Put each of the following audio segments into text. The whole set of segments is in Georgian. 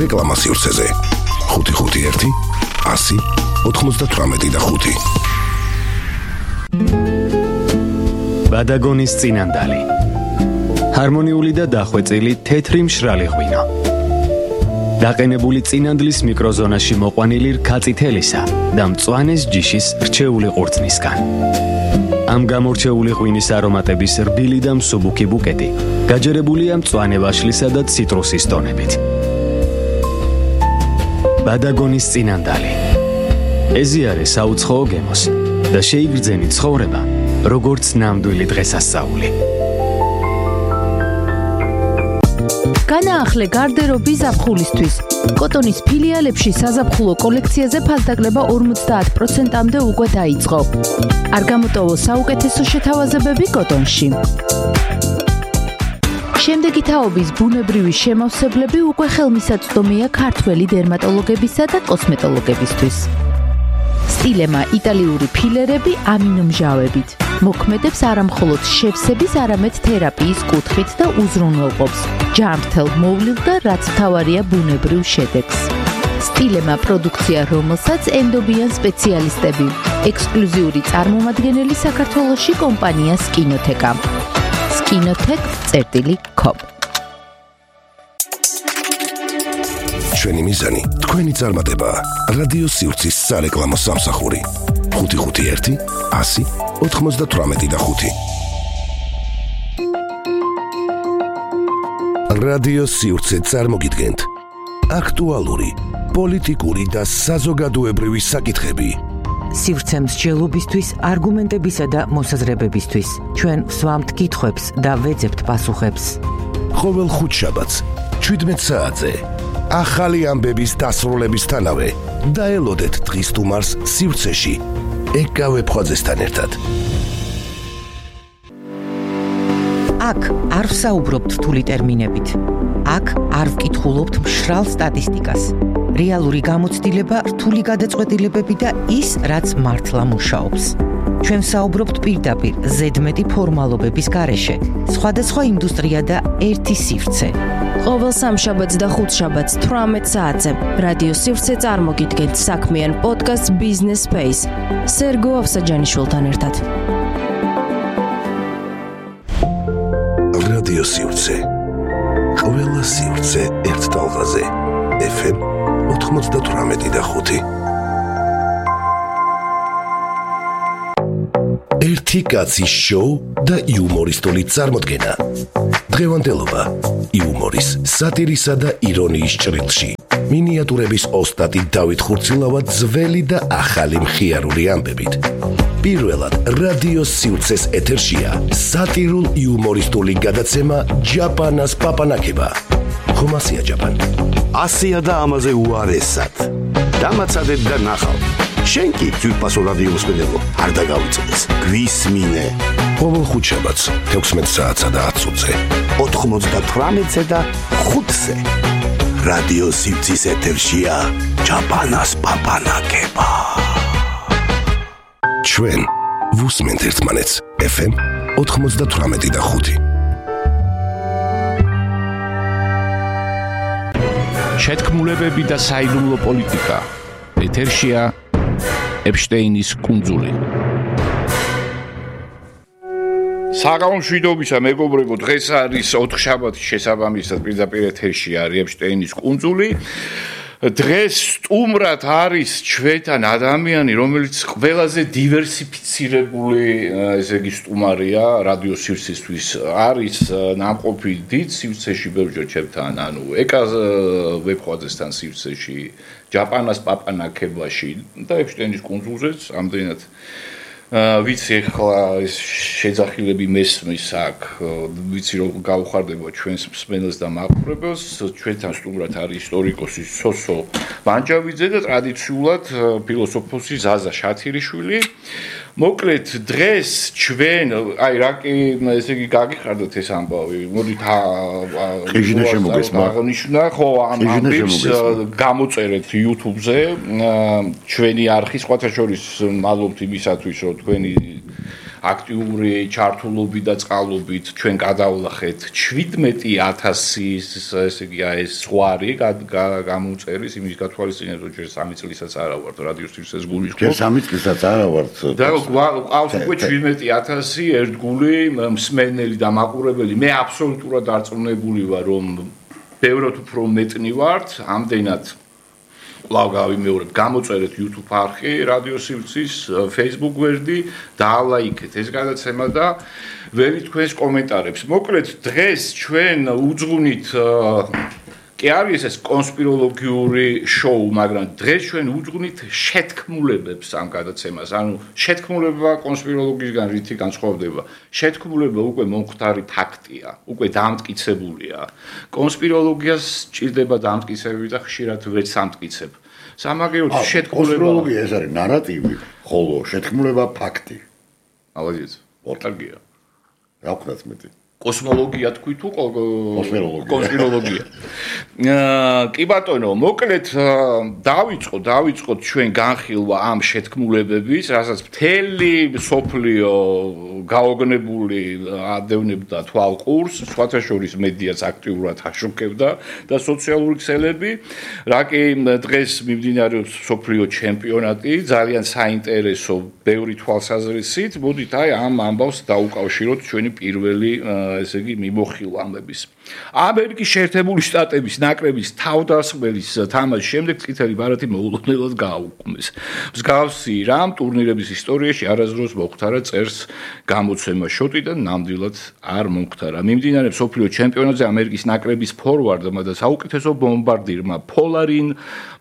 რეკლამა სივრცეზე. 551 100 98 ბადაგონის წინანდალი. ჰარმონიული და დახვეწილი თეთრი მშრალი ღვინო. დაყენებული წინანდლის მიკროზონაში მოყვანილი რქაწითელისა და მწვანეს ჯიშის რჩეული ყურძნისგან. ამ გამორჩეული ღვინის არომატების რბილი და მსუბუქი ბუკეტი გაჯერებულია მწვანე ვაშლისა და ციტრუსის ტონებით. ბადაგონის წინანდალი. ეზიარე საუცხოო გემოს და შეიგრძენი ცხოვრება, როგორც ნამდვილი დღესასწაული. განაახლე გარდერობის ზაფხულისთვის. კოტონის ფილიალებში საზაფხულო კოლექციაზე ფასდაკლება 50%-მდე უკვე დაიწყო. არ გამოტოვო საუკეთესო შეთავაზებები კოტონში. შემდეგი თაობის ბუნებრივი შემავსებლები უკვე ხელმისაწვდომია ქართველი დერმატოლოგებისა და კოსმეტოლოგებისთვის. სტილემა იტალიური ფილერები ამინომჟავებით. მოქმედებს არამხოლოდ შევსების, არამედ თერაპიის კუთხით და უზრუნველყოფს ჯანმრთელ მოვლილ და რაც მთავარია ბუნებრივ შედეგს. სტილემა პროდუქცია, რომელსაც ენდობიან სპეციალისტები. ექსკლუზიური წარმომადგენელი საქართველოში კომპანია სკინოთეკა. skinotech.com. ჩვენი მიზანი თქვენი წარმატება. რადიო სივრცის სარეკლამო სამსახური. 551 100 98 რადიო სივრცე წარმოგიდგენთ აქტუალური, პოლიტიკური და საზოგადოებრივი საკითხები. სივრცე მსჯელობისთვის, არგუმენტებისა და მოსაზრებებისთვის. ჩვენ ვსვამთ კითხვებს და ვეძებთ პასუხებს. ყოველ ხუთშაბათს 17 საათზე ახალი ამბების დასრულებისთანავე დაელოდეთ დღის სტუმარს სივრცეში ეკავე ფხაძესთან ერთად. აქ არ ვსაუბრობთ რთული ტერმინებით. აქ არ ვკითხულობთ მშრალ სტატისტიკას. რეალური გამოცდილება, რთული გადაწყვეტილებები და ის, რაც მართლა მუშაობს. ჩვენ ვსაუბრობთ პირდაპირ, ზედმეტი ფორმალობების გარეშე. სხვადასხვა ინდუსტრია და ერთი სივრცე. ყოველ სამშაბათს და ხუთშაბათს 18 საათზე რადიო სივრცე წარმოგიდგენთ საქმიან პოდკასტ Business Space სერგო ავსაჯანიშვილთან ერთად. რადიო სივრცე. ყველა სივრცე ერთ ტალღაზე. FM 98.5. ერთი კაცის შოუ და იუმორისტული წარმოდგენა. დღევანდელობა იუმორის, სატირისა და ირონიის ჭრილში. მინიატურების ოსტატი დავით ხურცილავა ძველი და ახალი მხიარული ამბებით. პირველად რადიო სივრცეს ეთერშია სატირულ იუმორისტული გადაცემა ჯაპანას პაპანაკება. ხომასია ჯაპან. ასია და ამაზე უარესად. დამაცადეთ და ნახავ. შენ კი ძვირფასო რადიო მსმენელო, არ დაგავიწყდეს. გვისმინე. ყოველ ხუთშაბათს 16 საათსა და 10 წუთზე. 98-ზე და 5-ზე. რადიო სივრცის ეთერშია ჯაპანას პაპანაკება. ჩვენ ვუსმენთ ერთმანეთს. FM 98 და 5. შეთქმულებები და საიდუმლო პოლიტიკა. ეთერშია ეპშტეინის კუნძული. საღამომშვიდობისა მეგობრებო, დღეს არის 4 შაბათის შესაბამისად პირდაპირ ეთერში არის ეპშტეინის კუნძული. დღეს სტუმრად არის ჩვენთან ადამიანი, რომელიც ყველაზე დივერსიფიცირებული, ესე იგი სტუმარია რადიო სივრცისთვის. არის ნამყოფი დიდ სივრცეში ბევრჯერ ჩემთან, ანუ ეკაზ ვებხვაძესთან სივრცეში, ჯაპანას პაპანაკებაში და ეპშტეინის კუნძულზეც ამდენად ვიცი ახლა ეს შეძახილები მესმის აქ, ვიცი რომ გავუხარდება ჩვენს მსმენელს და მაყურებელს. ჩვენთან სტუმრად არის ისტორიკოსი სოსო ვანჯავიძე და ტრადიციულად ფილოსოფოსი ზაზა შათირიშვილი. მოკლედ დღეს ჩვენ აი რა კი ესე იგი გაგიხარდათ ეს ამბავი. მოდით აღნიშნა ხო ამ ამბებს გამოწერეთ YouTube-ზე ჩვენი არხი, სხვათა შორის მადლობთ იმისათვის რომ თქვენი აქტიური ჩართულობით და წყალობით ჩვენ გადავლახეთ 17,000-ის ესე იგი ეს ზღვარი გამოუწერის იმის გათვალისწინებთ რომ ჯერ 3 წლისაც არა ვართ რადიო სივრცეს გულის ხო? ჯერ 3 წლისაც არა ვართ. და ყავს უკვე 17,000 ერთგული მსმენელი და მაყურებელი. მე აბსოლუტურად დარწმუნებული ვარ რომ ბევრად უფრო მეტნი ვართ, ამდენად კვლავ გავიმეორებ, გამოწერეთ YouTube არხი, რადიო სივრცის, Facebook გვერდი, დაალაიქეთ ეს გადაცემა და ვერით თქვენს კომენტარებს. მოკლედ დღეს ჩვენ უძღვნით კი არის ეს კონსპიროლოგიური შოუ, მაგრამ დღეს ჩვენ უძღვნით შეთქმულებებს ამ გადაცემას. ანუ შეთქმულება კონსპიროლოგიისგან რითი განსხვავდება? შეთქმულება უკვე მომხდარი ფაქტია, უკვე დამტკიცებულია. კონსპიროლოგიას ჭირდება დამტკიცებები და ხშირად ვერ სამტკიცებ. სამაგიეროდ შეთქმულება კონსპიროლოგია ეს არის ნარატივი, ხოლო შეთქმულება ფაქტი. ალბათ, ორტარგია. რა ვქნათ მეტი? კოსმოლოგია თქვი თუ კონსპიროლოგია. კი ბატონო, მოკლედ დავიწყოთ ჩვენ განხილვა ამ შეთქმულებების, რასაც მთელი სოფლიო გაოგნებული ადევნებდა თვალყურს, სხვათა შორის მედიაც აქტიურად აშუქებდა და სოციალური ქსელები, რა კი დღეს მიმდინარეობს სოფლიო ჩემპიონატი, ძალიან საინტერესო, ბევრი თვალსაზრისით, მოდით აი ამ ამბავს დაუკავშიროთ ჩვენი პირველი ესე იგი მიმოხილვამების. ამერიკის შეერთებული შტატების ნაკრების თავდასხმელის თამაშის შემდეგ წითელი ბარათი მოულოდნელად გააუქმეს. მსგავსი რამ ტურნირების ისტორიაში არასდროს მოხდარა წერს გამოცემა შოტიდან ნამდვილად არ მომხდარა. მიმდინარეობს სოფლიო ჩემპიონატზე ამერიკის ნაკრების ფორვარდმა და საუკეთესო ბომბარდირმა პოლარინ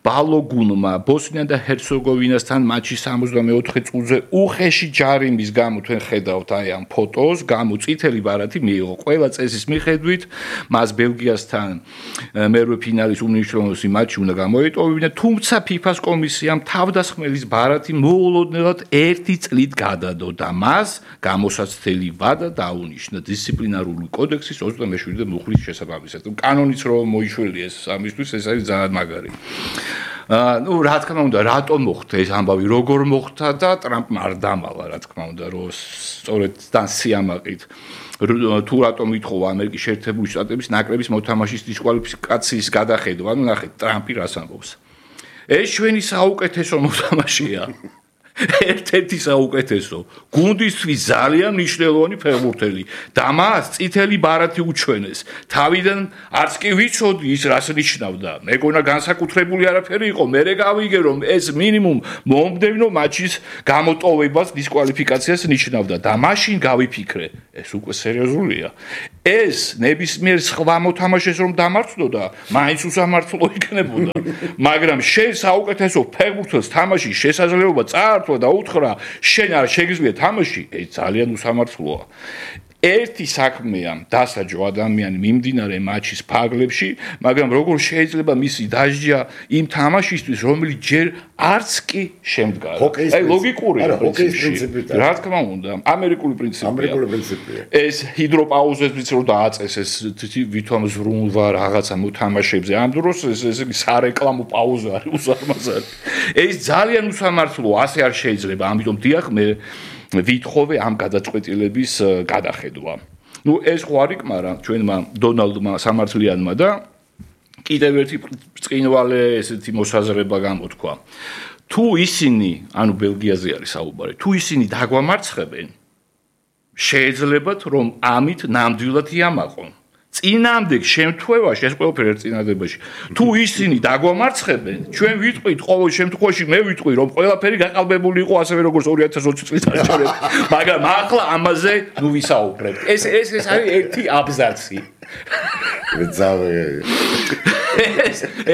ბალოგუნმა ბოსნია და ჰერცეგოვინასთან მატჩის 64 წუთზე უხეში ჯარიმის გამო თქვენ ხედავთ აი ამ ფოტოს, გამო წითელი ბარათი მიიღო. ყველა წესის მიხედვით მას ბელგიასთან მერვე ფინალის უმნიშვნელოვანესი მატჩი უნდა გამოეტოვებინა, თუმცა FIFA-ს კომისიამ თავდასხმელის ბარათი მოულოდნელად 1 წლით გადადო და მას გამოსაცდელი ვადა დაუნიშნა დისციპლინარული კოდექსის 27-ე მუხლის შესაბამისად. კანონიც რომ მოიშველია ეს ამისთვის, ეს არის ძალიან მაგარი. ну რა თქმა უნდა რატომ მოხდა ეს ამბავი როგორ მოხდა და ტრამპმა არ დამალა რა თქმა უნდა რომ სწორედ თან სიამაყით თუ რატომ ითხოვა ამერიკის შეერთებული შტატების ნაკრების მოთამაშის დისკვალიფიკაციის გადახედვა ანუ ნახეთ ტრამპი რას ამბობს ეს ჩვენი საუკეთესო მოთამაშეა ერთ-ერთი საუკეთესო გუნდისთვის ძალიან მნიშვნელოვანი ფეხბურთელი და მას წითელი ბარათი უჩვენეს თავიდან არც კი ვიცოდი ის რას ნიშნავდა მეგონა განსაკუთრებული არაფერი იყო მე გავიგე რომ ეს მინიმუმ მომდევნო მატჩის გამოტოვებას დისკვალიფიკაციას ნიშნავდა და მაშინ გავიფიქრე ეს უკვე სერიოზულია ეს ნებისმიერ სხვა მოთამაშეს რომ დამარცხდოდა მაინც უსამართლო იქნებოდა მაგრამ შენ საუკეთესო ფეხბურთელს თამაშის შესაძლებლობა წაართვა და უთხრა შენ არ შეგიძლია თამაში ეს ძალიან უსამართლოა ერთი საქმეა დასაჯო ადამიანი მიმდინარე მატჩის ფარგლებში, მაგრამ როგორ შეიძლება მისი დასჯა იმ თამაშისთვის, რომელიც ჯერ არც კი შემდგარა. აი ლოგიკურია. ჰოკეის პრინციპია. რა თქმა უნდა, ამერიკული პრინციპია. ეს ჰიდროპაუზებიც რო დააწეს ეს ვითომ ზრუნვა რაღაცა მოთამაშებზე. ამ დროს ეს სარეკლამო პაუზა არის უსამართლო. ეს ძალიან უსამართლოა, ასე არ შეიძლება. ამიტომ დიახ მე ვითხოვე ამ გადაწყვეტილების გადახედვა. ნუ ეს ხო არ იკმარა ჩვენმა დონალდმა სამართლიანმა და კიდევ ერთი წინვალე ესეთი მოსაზრება გამოთქვა. თუ ისინი, ანუ ბელგიაზე არის საუბარი, თუ ისინი დაგვამარცხებენ, შეიძლებათ რომ ამით ნამდვილად იამაყონ. წინამდებ შემთხვევაში ეს ყველაფერი ერთ წინადებაში თუ ისინი დაგვამარცხებენ ჩვენ ვიტყვით ყოველ შემთხვევაში მე ვიტყვი რომ ყველაფერი გაყალბებული იყო ასევე როგორც 2020 წლის არჩევნებში მაგრამ ახლა ამაზე ნუ ვისაუბრებთ ეს არის ერთი აბზაცი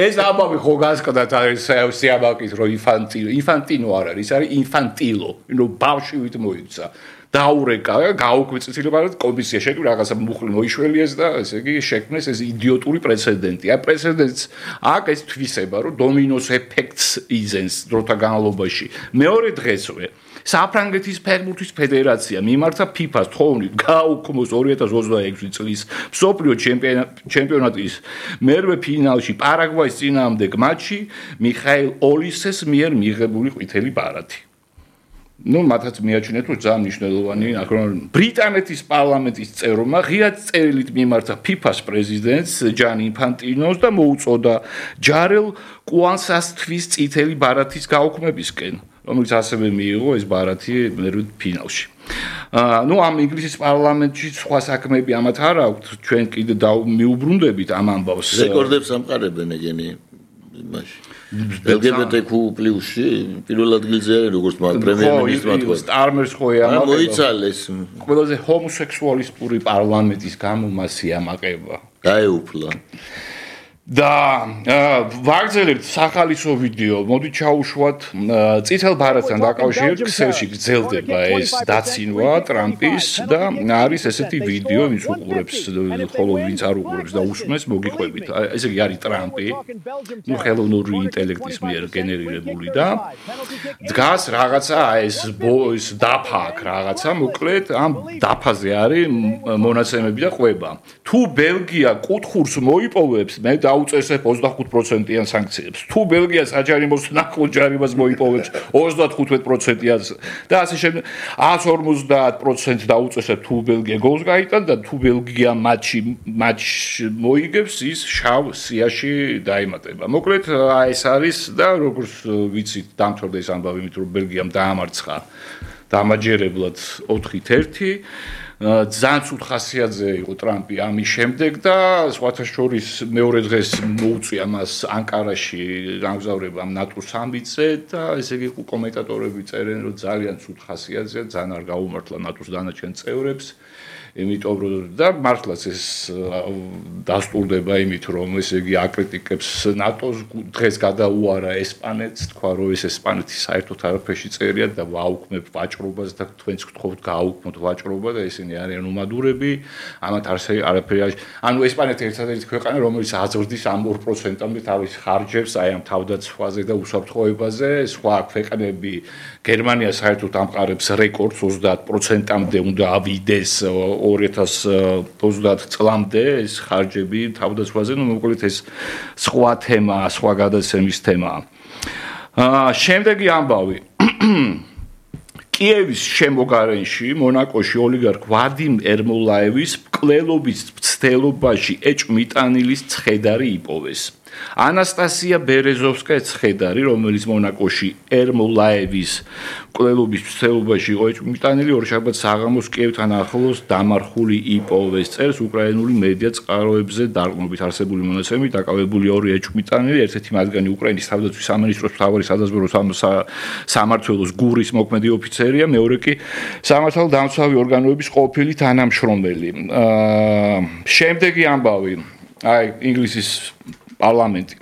ეს ამბავი ხო გასკდათ არის სიამაყის რომ ინფანტინო არ არის ის არის ინფანტილო ნუ ბავშვით მოიქცა დაურეკა, გაუკვეცილება კომისია შექმნა რაღაცა მუხლი მოიშველიეს და ესე იგი შექმნეს ეს იდიოტური პრეცედენტი. აი პრეცედენტს აქ ეს თვისება, რომ დომინოს ეფექტს იძენს დროთა განმავლობაში. მეორე დღესვე საფრანგეთის ფეხბურთის ფედერაცია მიმართა FIFA-ს თხოვნით გააუქმოს 2026 წლის მსოფლიო ჩემპიონატის მერვე ფინალში პარაგვაის წინააღმდეგ მატჩი მიხაილ ოლისეს მიერ მიღებული ყვითელი ბარათი. ну, მათაც მიაჩნიათ, რომ ძალიან მნიშვნელოვანი ბრიტანეთის პარლამენტის წევრმა ღია წერილით მიმართა FIFA-ს პრეზიდენტს ჯანი ინფანტინოს და მოუწოდა ჯარელ კუანსას-თვის წითელი ბარათის გაუქმებისკენ, რომელიც ასევე მიიღო ეს ბარათი მერვე ფინალში. ну, ამ ინგლისის პარლამენტში სხვა საქმეები ამათ არ აქვთ, ჩვენ კიდე მიუბრუნდებით ამ ამბავს. რეკორდებს ამყარებენ ეგენი იმაში. LGBTQ+-ში პირველ ადგილზე არის როგორც პრემიერ-მინისტრმა თქვა. სტარმერს ხო ამაყება. მოიცალეს. ყველაზე ჰომოსექსუალისტური პარლამენტის გამო მას იამაყება. გაეუფლა. და ვაგზელებთ სახალისო ვიდეო, მოდით ჩაუშვათ წითელ ბარათთან დაკავშირებით ქსელში გრძელდება ეს დაცინვა ტრამპის და არის ესეთი ვიდეო, ვინც უყურებს, ხოლო ვინც არ უყურებს და უსმენს, მოგიყვებით. ესე იგი არის ტრამპი, ну ხელოვნური ინტელექტის მიერ გენერირებული და დგას რაღაცა ეს დაფა აქ რაღაცა, მოკლედ ამ დაფაზე არის მონაცემები და ყვება. თუ ბელგია კუთხურს მოიპოვებს, მე დაუწესებ 25%-იან სანქციებს. თუ ბელგია საჯარიმოს ნახო ჯარიმას მოიპოვებს 35%-იან და ასე შემდეგ 150% დაუწესებ თუ ბელგია გოლს გაიტანს და თუ ბელგია მატჩ მოიგებს ის შავ სიაში დაემატება. მოკლედ ეს არის და როგორც ვიცით დამთავრდა ეს ამბავი იმით რომ ბელგიამ დაამარცხა დამაჯერებლად 4-1 ძალიან ცუდ ხასიათზე იყო ტრამპი ამის შემდეგ და სხვათა შორის მეორე დღეს მოუწია მას ანკარაში გამგზავრება ნატოს სამიტზე და ესე იგი კომენტატორები წერენ რომ ძალიან ცუდ ხასიათზეა, ძალიან არ გაუმართლა ნატოს დანარჩენ წევრებს. იმიტომ რომ და მართლაც ეს დასტურდება იმით რომ ესე იგი აკრიტიკებს ნატოს დღეს გადაუარა ესპანეთს, თქვა რომ ეს ესპანეთი საერთოდ არაფერში წერია და ვაუქმებ ვაჭრობას და თქვენც გთხოვთ გააუქმოთ ვაჭრობა და ესენი არიან უმადურები, ამათ არაფერი ანუ ესპანეთი ერთადერთი ქვეყანა რომელიც აზრდის ამ 2%-ამდე თავის ხარჯებს აი ამ თავდაცვაზე და უსაფრთხოებაზე, სხვა ქვეყნები გერმანია საერთოდ ამყარებს რეკორდს 30%-ამდე უნდა ავიდეს 2030 წლამდე ეს ხარჯები თავდაცვაზე, ну მოკლედ ეს სხვა თემაა, სხვა გადაცემის თემაა. შემდეგი ამბავი. კიევის შემოგარენში, მონაკოში ოლიგარქ ვადიმ ერმოლაევის მკვლელობის მცდელობაში ეჭვმიტანილის ცხედარი იპოვეს. ანასტასია ბერეზოვსკაია ცხედარი, რომელიც მონაკოში ერმოლაევის მკვლელობის მცდელობაში იყო ეჭვმიტანილი, ორშაბათ საღამოს კიევთან ახლოს დამარხული იპოვეს. წერს უკრაინული მედია წყაროებზე დარყმობით არსებული მონაცემებით დაკავებული ორი ეჭვმიტანილი, ერთ-ერთი მათგანი უკრაინის თავდაცვის სამინისტროს მთავარი სადაზვერვო სამმართველოს გურის მოქმედი ოფიცერია, მეორე კი სამართალ დამცავი ორგანოების ყოფილი თანამშრომელი. შემდეგი ამბავი, აი ინგლისის პარლამენტი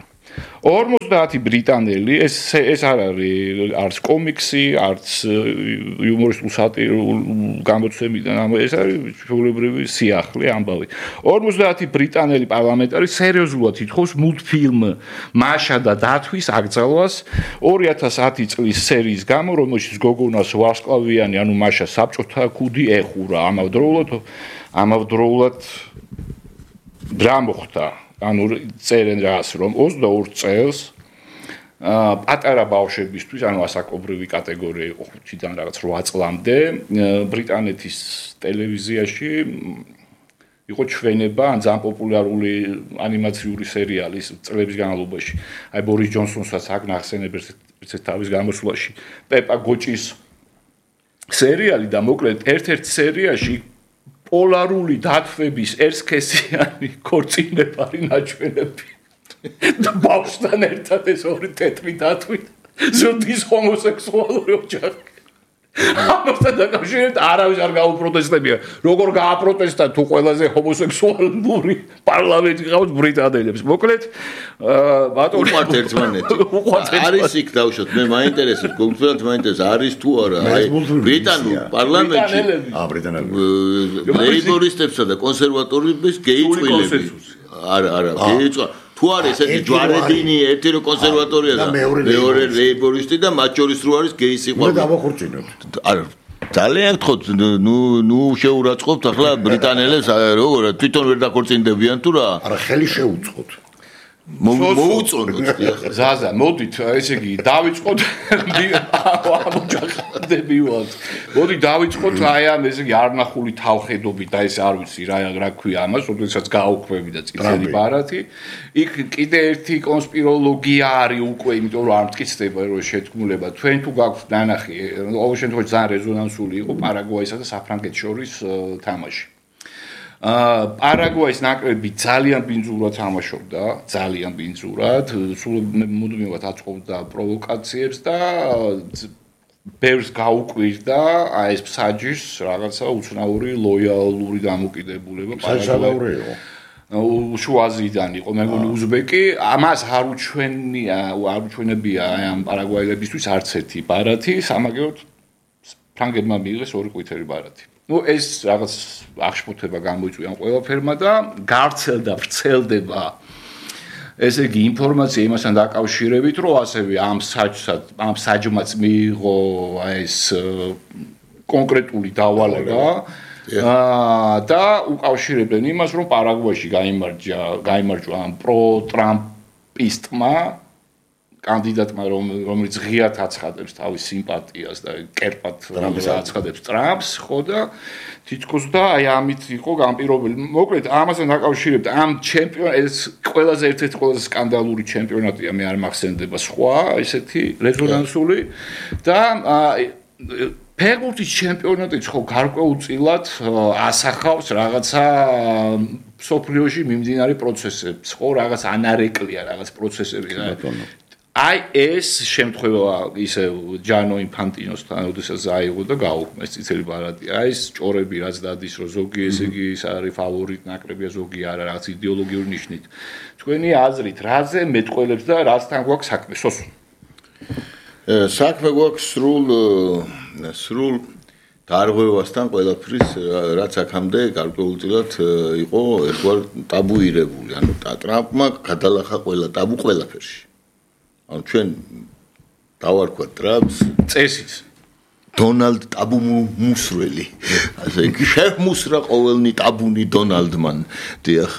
50 ბრიტანელი ეს არ არის არც კომიქსი, არც იუმორისტულ სატირულ გამოცემიდან, ეს არის ჩვეულებრივი სიახლე ამბავი. 50 ბრიტანელი პარლამენტარი სერიოზულად ითხოვს მულტფილმ მაშა და დათვის აკრძალვას 2010 წლის სერიის გამო, რომელშიც გოგონას ვარსკვლავიანი, ანუ მაშა საბჭოთა ქუდი ეხურა. ამავდროულად რა მოხდა? ანუ წერენ რას რომ 22 წელს პატარა ბავშვებისთვის, ანუ ასაკობრივი კატეგორია იყო 5-დან რაღაც 8 წლამდე ბრიტანეთის ტელევიზიაში იყო ჩვენება ან ძალიან პოპულარული ანიმაციური სერიალის წლების განმავლობაში. აი ბორის ჯონსონსაც აქ ნახსენებს ერთ თავის გამოსვლაში პეპა გოჭის სერიალი და მოკლედ ერთ-ერთ სერიაში პოლარული დათვების ერთსქესიანი ქორწინებარი ნაჩვენები და ბავშვთან ერთად ეს ორი თეთრი დათვით ზრდის ჰომოსექსუალური ოჯახი. ამასთან დაკავშირებით არავის არ გაუპროტესტებია. როგორ გააპროტესტა თუ ყველაზე ჰომოსექსუალური პარლამენტი ყავს ბრიტანელებს. მოკლედ ბატონო უყვართ ერთმანეთი. არის იქ დავშოთ, მე მაინტერესებს, კონკრეტულად მაინტერესებს არის თუ არა აი ბრიტანულ პარლამენტში ლეიბორისტებსა და კონსერვატორებს გეიწვილები. არა, გეიწვა თუ არის ესეთი ჯვარედინი ერთი რო კონსერვატორია და მეორე ლეიბორისტი და მათ შორის რო არის გეი სიყვარული. უნდა დავახორციელოთ. არა ძალიან გთხოვთ, ნუ შეურაცხყოფთ ახლა ბრიტანელებს, როგორ თვითონ ვერ დაქორწინდებიან თუ რა? არა, ხელი შეუწყოთ. მოუწონოთ ზაზა მოდით ესე იგი დავიწყოთ ამოჯახდებიოთ მოდი დავიწყოთ აი ამ ესე იგი არნახული თავხედობით და ეს არ ვიცი რა ქვია ამას როდესაც გაუქმები და წითელი ბარათი იქ კიდე ერთი კონსპიროლოგია არის უკვე იმიტომ რომ არ მტკიცდება რომ შეთქმულება თქვენ თუ გაქვთ ნანახი ყოველ შემთხვევაში ძალიან რეზონანსული იყო პარაგვაისა და საფრანგეთს შორის თამაში პარაგვაის ნაკრები ძალიან ბინძურად თამაშობდა, ძალიან ბინძურად, სულ მუდმივად აწყობდა პროვოკაციებს და ბევრს გაუკვირდა აი ეს ფსაჯის რაღაცა უცნაური ლოიალური დამოკიდებულება პარაგვაიო. უშუაზიდან იყო, მე მგონი უზბეკი, ამას არ უჩვენებია აი ამ პარაგვაელებისთვის არც ერთი ბარათი, სამაგეროდ ფრანგებმა მიიღეს ორი ყვითელი ბარათი. ეს რაღაც აღშფოთება გამოიწვია ყველაფერმა და გავრცელდა, ვრცელდება ესე იგი ინფორმაცია იმასთან დაკავშირებით, რომ ასევე ამ საჯმაც მიიღო ეს კონკრეტული დავალება და უკავშირებდნენ იმას, რომ პარაგვაიში გაიმარჯვა ამ პრო-ტრამპისტმა კანდიდატმა რომელიც ღიად აცხადებს თავის სიმპათიას და კერპად აცხადებს ტრამპს, ხო და თითქოს და აი ამით იყო განპირობებული. მოკლედ ამასთან დაკავშირებით ამ ჩემპიონატს ყველაზე ერთ-ერთი ყველაზე სკანდალური ჩემპიონატია, მე არ მახსენდება სხვა ესეთი რეზონანსული და ფეხბურთის ჩემპიონატიც ხო გარკვეულწილად ასახავს რაღაცა სოფლიოში მიმდინარე პროცესებს, ხო რაღაც ანარეკლია რაღაც პროცესები რა. აი ეს შემთხვევა ისე ჯანო ინფანტინოსთან, როდესაც აიღო და გაუქმეს წითელი ბარათი. აი ეს ჭორები რაც დადის, რომ ზოგი ესე იგი ის არის ფავორიტ ნაკრებია, ზოგი არა, რაღაც იდეოლოგიური ნიშნით. თქვენი აზრით, რაზე მეტყველებს და რასთან გვაქვს საქმე? სოსო. საქმე გვაქვს სრულ დარღვევასთან ყველაფრის, რაც აქამდე გარკვეულწილად იყო ერთგვარ ტაბუირებული. ანუ ტრამპმა გადალახა ყველა ტაბუ ყველაფერში. ანუ ჩვენ დავარქვათ ტრამპს წესით დონალდ ტაბუმუსრელი ასე შემუსრა ყოველნი ტაბუნი დონალდმან დიახ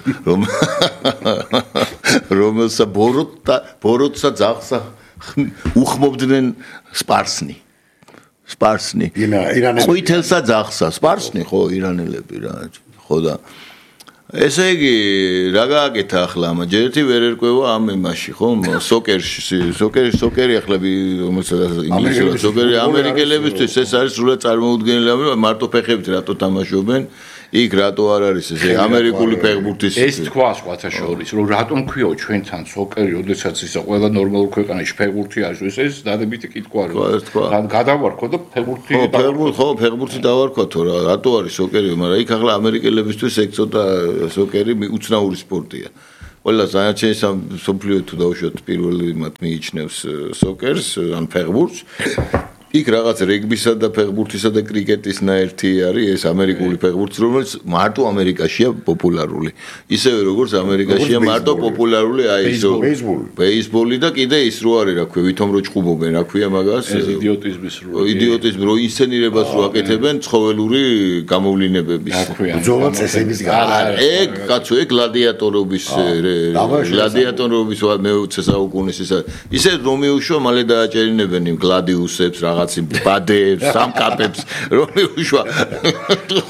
რომელსა ბოროტსა ძაღსა უხმობდნენ სპარსნი ყვითელსა ძაღსა სპარსნი ხო ირანელები რა ხო და ესე იგი რა გააკეთა ახლა ამა ჯერ ერთი ვერ ერკვევა ამ იმაში ხო სოკერი ახლა ინგლისურად სოკერი ამერიკელებისთვის ეს არის სულად წარმოუდგენელი მარტო ფეხებით რატო თამაშობენ იქ რატო არ არის ესე ამერიკული ფეხბურთის ეს თქვა სხვათა შორის რომ რატომ ქვიო ჩვენთან სოკერი როდესაც ისა ყველა ნორმალურ ქვეყანაში ფეხბურთი არის ეს დადებითი კითხვა რა გადავარქო და ფეხბურთი დავარქვათო რა რატო არის სოკერი მაგრამ იქ ახლა ამერიკელებისთვის ეგ ცოტა სოკერი უცნაური სპორტია ყველა საერთოდ სოფლიო თუ დავუშვათ პირველი მათ მიიჩნევს სოკერს ან ფეხბურთს იქ რაღაც რეგბისა და ფეხბურთისა და კრიკეტის ნაერთი არის ეს ამერიკული ფეხბურთი რომელიც მარტო ამერიკაშია პოპულარული ისევე როგორც ამერიკაშია მარტო პოპულარული აი ეს ბეისბოლი და კიდე ის რო არის რა ქვია ვითომ რო ჭუბობენ რა ქვია მაგას იდიოტიზმი რო ინსცენირებას რო აკეთებენ ცხოველური გამოვლინებების ბრძოლა წესების გარდა ეგ კაცო ეგ გლადიატორობის მე-20 საუკუნის ისე რომ მიუშვა მალე დააჭერინებენ იმ გლადიუსებს რაღაცი ბადებს, სამკაპებს, რომ უშვა.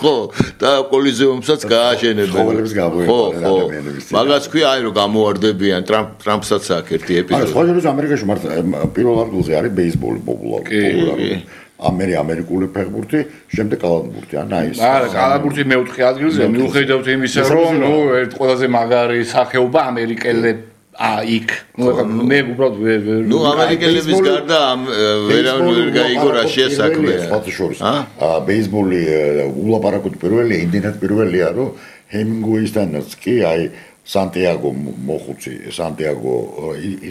ხო, და კოლიზეუმსაც გააშენებენ. ხო. მაგას ქვია, აი რომ გამოარდებიან ტრამპსაც აქ ერთი ეპიზოდი. სხვა შორის ამერიკაში მარტო პირველ ადგილზე არის ბეისბოლი პოპულარული. ამერიკული ფეხბურთი, შემდეგ კალათბურთი, აი ეს. არა, კალათბურთი მეოთხე ადგილზე, მიუხედავად იმისა, რომ ერთ ყველაზე მაგარი სახეობა ამერიკელებს იქ მე უბრალოდ ნუ ამერიკელების გარდა ვერავინ გაიგო რა შეასაქმე ბეისბოლი ულაპარაკოთ პირველი იმდენად პირველია რომ ჰემინგუეისთანაც კი აი სანტიაგო მოხუცი სანტიაგო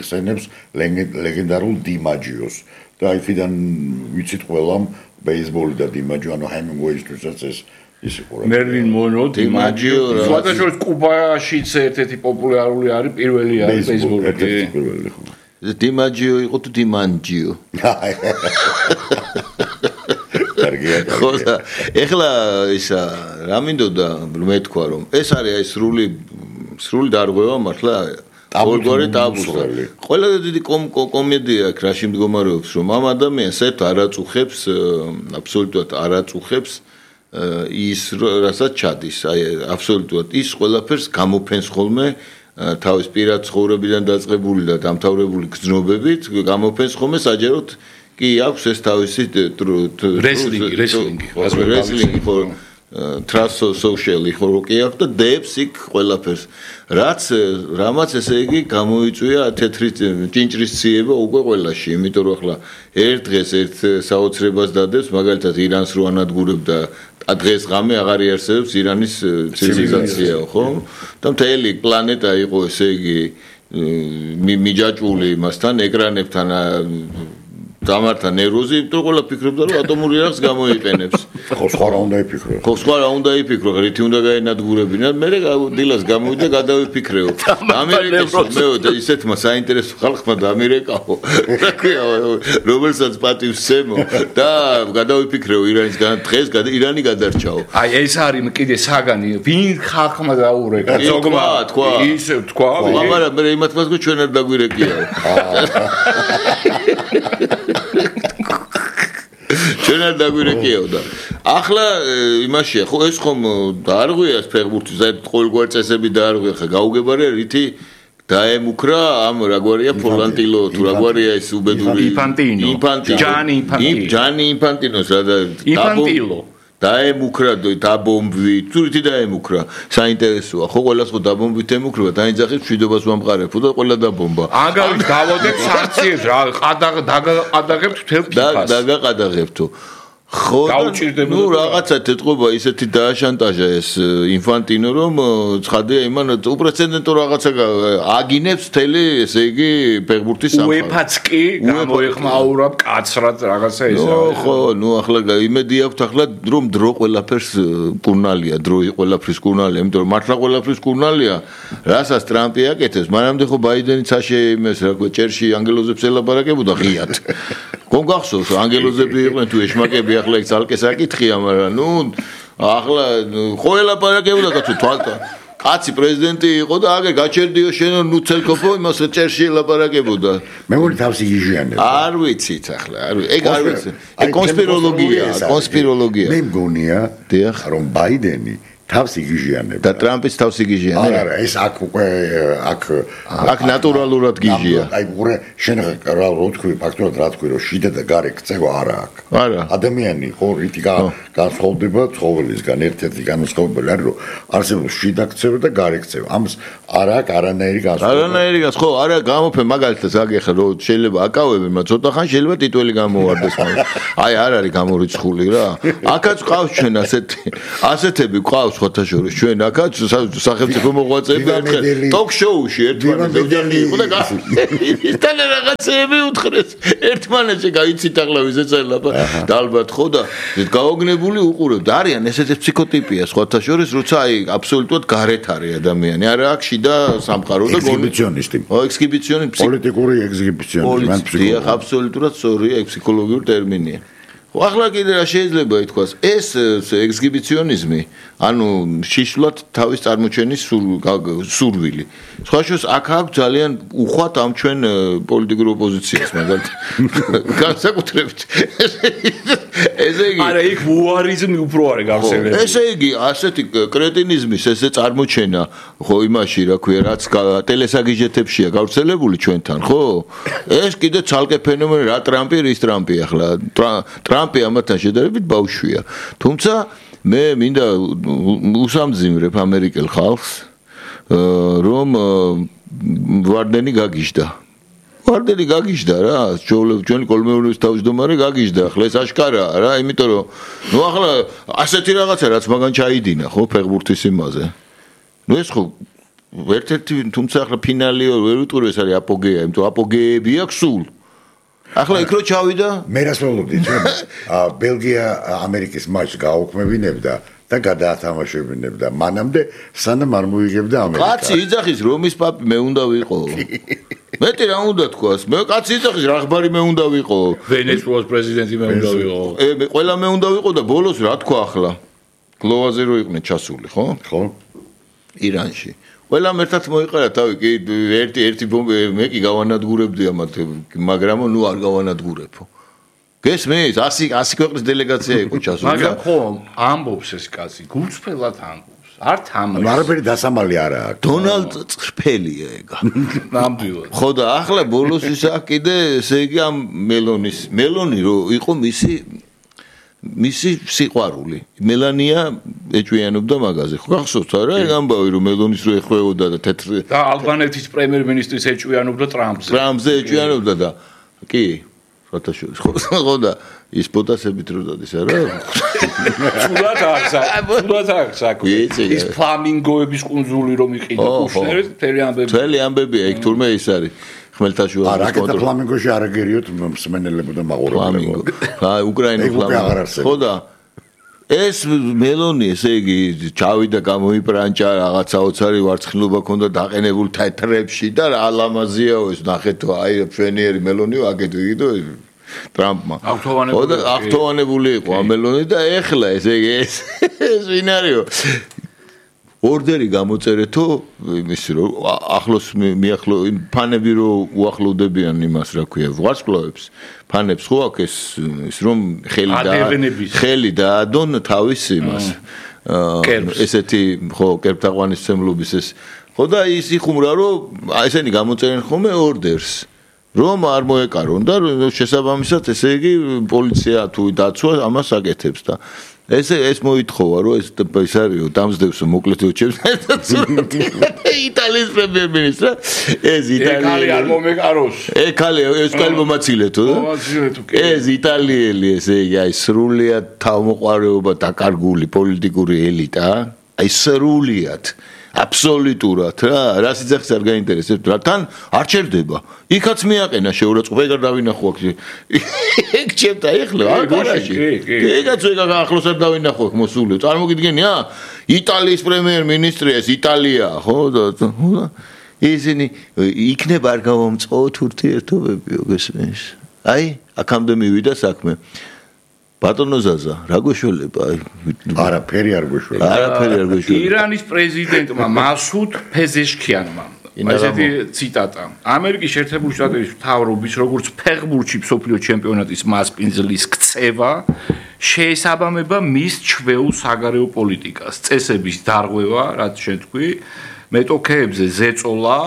იხსენებს ლეგენდარულ დიმაჯიოს და იქიდან ვიცით ყველამ ბეისბოლი და დიმაჯო ანუ ჰემინგუეისთვისაც ეს მერლინ მონრო დიმაჯიო სხვათა შორის კუბაშიც ერთ-ერთი პოპულარული არის პირველი არის ბეისბოლი პირველი ხო დიმაჯიო იყო თუ დიმანჯიო კარგია ხო და ეხლა ისა რა მინდოდა მე თქვა რომ ეს არის აი სრული დარღვევა მართლა ყოველგვარი ტაბუსა. ყველა დიდი კომედია აქ რაში მდგომარეობს, რომ ამ ადამიანს საერთოდ არ აწუხებს, აბსოლუტურად არ აწუხებს ის რასაც ჩადის, აი აბსოლუტურად ის ყველაფერს გამოფენს ხოლმე თავის პირად ცხოვრებიდან დაწყებული და დამთავრებული გრძნობებით, გამოფენს ხოლმე საჯაროდ კი აქვს ეს თავისი რესლინგი ხო ტრანსსოციალი ხო კი აქვს და დებს იქ ყველაფერს რამაც ესე იგი გამოიწვია თეთრი ჭინჭრის ციება უკვე ყველაში, იმიტომ რომ ახლა ერთ დღეს ერთ საოცრებას დადებს, მაგალითად ირანს რო ანადგურებდა დღეს ღამე აღარ იარსებებს ირანის ცივილიზაცია, ხო? და მთელი პლანეტა იყო ესე იგი მიჯაჭვული იმასთან, ეკრანებთან დამართა ნევროზი, იმიტომ ყველა ფიქრობდა რომ ატომური რეაქციას გამოიყენებს. ხო, სხვა რა უნდა იფიქრო. ხო, სხვა რა უნდა იფიქრო, რითი უნდა გაენადგურებინათ, მე დილას გამოვიდა გადავიფიქრეო. ამერიკის მე ისეთმა საინტერესო ხალხმა დამირეკაო. რა ქვია, რომელსაც პატივს სცემო და გადავიფიქრეო ირანის დღეს ირანი გადარჩაო. აი ეს არის კიდე საგანი, ვინ ხალხმა დაურეკა, ზოგმა თქვა. ისე თქვა. მაგრამ მე იმათ მას ჩვენ არ დაგვირეკიაო. ჩვენ არ დაგვირეკიაო და ახლა იმაშია ხო ეს ხომ დაარღვიას ფეხბურთის ყოველგვარი წესები დაარღვია ხა გაუგებარია რითი დაემუქრა ამ რაგვარია ფოლანტილო თუ რაგვარია ეს უბედური ჯანი ინფანტინოს რა და ინფანტილო დაემუქრა დაბომბვი თუ რითი დაემუქრა საინტერესოა ხო ყველას ხო დაბომბვით ემუქრება დაინძახებს მშვიდობას ვამყარებო და ყველა დაბომბა აგავით გავოდეთ სანქციებს რა დაგაყადაღებთ მთელ ფიფას დაგაყადაღებთო ხო ნუ რაღაცა ეთყობა ისეთი დააშანტაჟა ეს ინფანტინო რომ ცხადია იმან უპრეცედენტო რაღაცა აგინებს მთელი ესე იგი ფეხბურთის სამყაროს უეფაც კი გამოეხმაურა კაცრად რაღაცა ეს ხო ნუ ახლა იმედი აქვს ახლა რომ დრო ყველაფერს კურნალია დრო ყველაფრის კურნალია იმიტომ რომ მართლა ყველაფრის კურნალია რასაც ტრამპი აკეთებს მანამდე ხო ბაიდენიც აშე იმეს რა ქვია ჭერში ანგელოზებს ელაპარაკებოდა ღიად გონ გახსოვს ანგელოზები იყვნენ თუ ეშმაკები ახლა იქ ძალკე საკითხია მაგრამ ნუ ახლა ხო ელაპარაკებოდა კაცო თვალთა კაცი პრეზიდენტი იყო და აგერ გაჩერდიო შენ ნუ ცელკოფო იმას ჭერში ელაპარაკებოდა მე მგონი თავისი გიჟიანება არ ვიცით ახლა ეგ არ ვიცი ეგ კონსპიროლოგია მე მგონია რომ ბაიდენი თავისი გიჟიანება და ტრამპის თავისი გიჟიანება არა ეს აქ უკვე აქ ნატურალურად გიჟია აი უყურე შენ რა თქვი ფაქტობრივად რა თქვი რომ შიდა და გარე ქცევა არა აქვს არა ადამიანი ხო რითი განსხვავდება ცხოველისგან ერთ-ერთი განსხვავებული არის რომ არსებობს შიდა ქცევა და გარე ქცევა ამას არა აქვს არანაირი განსხვავება ხო არა გამოფე მაგალითად აგეხა რომ შეიძლება აკავებენ მაგრამ ცოტა ხან შეიძლება ტიტველი გამოვარდეს აი არ არის გამორიცხული რა აქაც ყავს ჩვენ ასეთები ყავს ხოთაშორის ჩვენ აქაც სახელმწიფო მოღვაწეები ერთხელ ტოკ-შოუში ერთმანეთს იყო და ისთან რაღაცები უთხრეს ერთმანეთში გაიცით ახლა ვიზეც ელაპა და ალბათ ხო და გაოგნებული უყურებთ არიან ესეთი ფსიქოტიპია ხოთაშორის როცა აი აბსოლუტურად გარეთ არის ადამიანი არა აქ შიდა სამყარო და ექსგიბიციონისტი ექსგიბიციონისტი პოლიტიკური ექსგიბიციონისტი მან ფსიქოლოგია აბსოლუტურად სწორია ფსიქოლოგიური ტერმინია ახლა კიდე რა შეიძლება ითქვას ეს ექსგიბიციონიზმი ანუ შიშვლად თავის წარმოჩენის სურვილი სხვა შეს აქ აქვს ძალიან უხვად ამ ჩვენ პოლიტიკურ ოპოზიციას მაგალითად განსაკუთრებით ესე იგი არა იქ უარიზმი უფრო არის გავსებული ესე იგი ასეთი კრეტინიზმის ესე წარმოჩენა ხო იმაში რა ქვია რაც ტელესაგიჟეთებშია გავრცელებული ჩვენთან ხო ეს კიდე ცალკე ფენომენი რა ტრამპი რის ტრამპი ახლა ტრამპი ამათთან შედარებით ბავშვია თუმცა მე მინდა უსამძიმრებ ამერიკელ ხალხს რომ ვარდენი გაგიჟდა რა ჩვენი კოლმეურნეობის თავმჯდომარე გაგიჟდა ახლა ეს აშკარაა რა იმიტომ რომ ნუ ახლა ასეთი რაღაცა რაც მაგან ჩაიდინა ხო ფეხბურთის იმაზე ნუ ეს ხო ერთ-ერთი თუმცა ახლა ფინალი ვერ ვიტყვი ეს არის აპოგეა იმიტომ აპოგეები აქვს სულ ახლა იქ რო ჩავიდა მე რას ველოდით ბელგია ამერიკის მატჩს გააუქმებინებდა და გადაათამაშებინებდა მანამდე სანამ არ მოიგებდა ამერიკა კაცი იძახის რომის პაპი მე უნდა ვიყო მეტი რა უნდა თქვას მე კაცი იძახის რახბარი მე უნდა ვიყო ვენესუელას პრეზიდენტი მე უნდა ვიყო ყველა მე უნდა ვიყო და ბოლოს რა თქვა ახლა გლოვაზე რო იყვნენ ჩასული ხო ხო ირანში ყველამ ერთად მოიყარა თავი, კი ერთი ბომბი მე კი გავანადგურებდი ამათ, მაგრამ ნუ არ გავანადგურებო. გესმის? 100 ქვეყნის დელეგაცია იყო ჩასული. მაგრამ ხო, ამბობს ეს კაცი, გულწრფელად ამბობს. არ თამაშს. არაფერი დასამალი არა აქვს. დონალდ წრფელია ეგა. ნამდვილად. ხო და ახლა ბოლოს ისა კიდე ესე იგი ამ მელონი რო იყო მისი სიყვარული. მელანია ეჭვიანობდა მაგაზე. ხო გახსოვთ არა ეგ ამბავი რომ მელონის რო ეხვეოდა და თეთრ და ალბანეთის პრემიერ-მინისტრის ეჭვიანობდა ტრამპზე. ტრამპზე ეჭვიანობდა და კი ფოტოშოპს ხო და ის ფოტოსებით რო დადის არა? სულად აქვს საქმე. ის ფლამინგოების კუნძული რომ იყიდა კუშნერის მთელი ამბებია იქ თურმე ის არის. ხმელთაშუა რაკეტა ფლამინგოში არ აგერიოთ მსმენელებო და მაყურებლებო. აი უკრაინის ფლამინგო. ხო და ეს მელონი ესე იგი ჩავიდა გამოიპრანჭა რაღაცა ოცარი ვარცხნილობა ქონდა დაყენებული თეთრებში და რა ლამაზიაო ეს ნახეთო აი ჩვენიერი მელონიო აგეთვიდო ტრამპმა. ხო და აღთოვანებული იყო ამ მელონი და ეხლა ესე იგი ეს ვინარიო ორდერი გამოწერეთო იმისი რომ ახლოს მიახლო ფანები რო უახლოვდებიან იმას რა ქვია ვარსკვლავებს ფანებს ხო აქვს ის რომ ხელი და ადონ თავის იმას ესეთი ხო კერპთაყვანისმცემლობის ეს ხო და ის იხუმრა რომ ესენი გამოწერენ ხოლმე ორდერს რომ არ მოეკარონ და შესაბამისად ესე იგი პოლიცია თუ დაცვა ამას აკეთებს და ეს მოითხოვა რომ ეს ისარიო დამსდევს მოკლედო ჩემს იტალიის პრემიერ-მინისტრა ეს იტალიელი არ მომეკაროს ეს კალი მომაცილეთო ეს იტალიელი ესე იგი აი სრულიად თავმოყარეობა დაკარგული პოლიტიკური ელიტა აი სრულიად აბსოლუტურად რა სიძახის არ გაინტერესებს რა თან არ ჩერდება იქაც მიაყენა შეურაცხყოფა ეგ არ დავინახო აქ ეგ ჩემთა ეხლა არ გარაში ეგაც ეგ ახლოს არ დავინახო აქ მოსულე წარმოგიდგენია იტალიის პრემიერ-მინისტრი ეს იტალია ხო და ისინი იქნება არ გავამწყოთ ურთიერთობებიო გესმის აი აქამდე მივიდა საქმე ბატონო ზაზა, რა გეშველება? არაფერი არ გეშველება. ირანის პრეზიდენტმა მასუდ ფეზეშქიანმა ესეთი ციტატა. ამერიკის შეერთებული შტატების მთავრობის როგორც ფეხბურთში მსოფლიო ჩემპიონატის მასპინძლის ქცევა შეესაბამება მის ჩვეულ საგარეო პოლიტიკას, წესების დარღვევა, რაც შენ თქვი, მეტოქეებზე ზეწოლა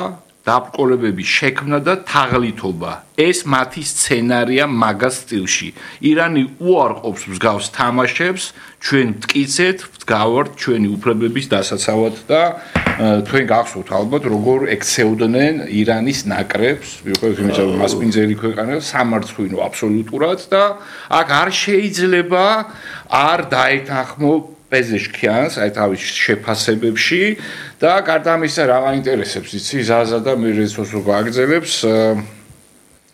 დაბრკოლებების შექმნა და თაღლითობა. ეს მათი სცენარია მაგას სტილში. ირანი უარყოფს მსგავს თამაშებს, ჩვენ მტკიცეთ, ვდგავართ ჩვენი უფლებების დასაცავად და თქვენ გახსოვთ ალბათ როგორ ექცეოდნენ ირანის ნაკრებს, მიუხედავად იმისა, რომ მასპინძელი ქვეყანა სამარცხვინო აბსოლუტურად და აქ არ შეიძლება არ დაეთანხმო პეზეშქიანს აი თავის შეფასებებში და გარდა ამისა რა მაინტერესებს იცი ზაზა და მე რეცოს რო გააგზელებს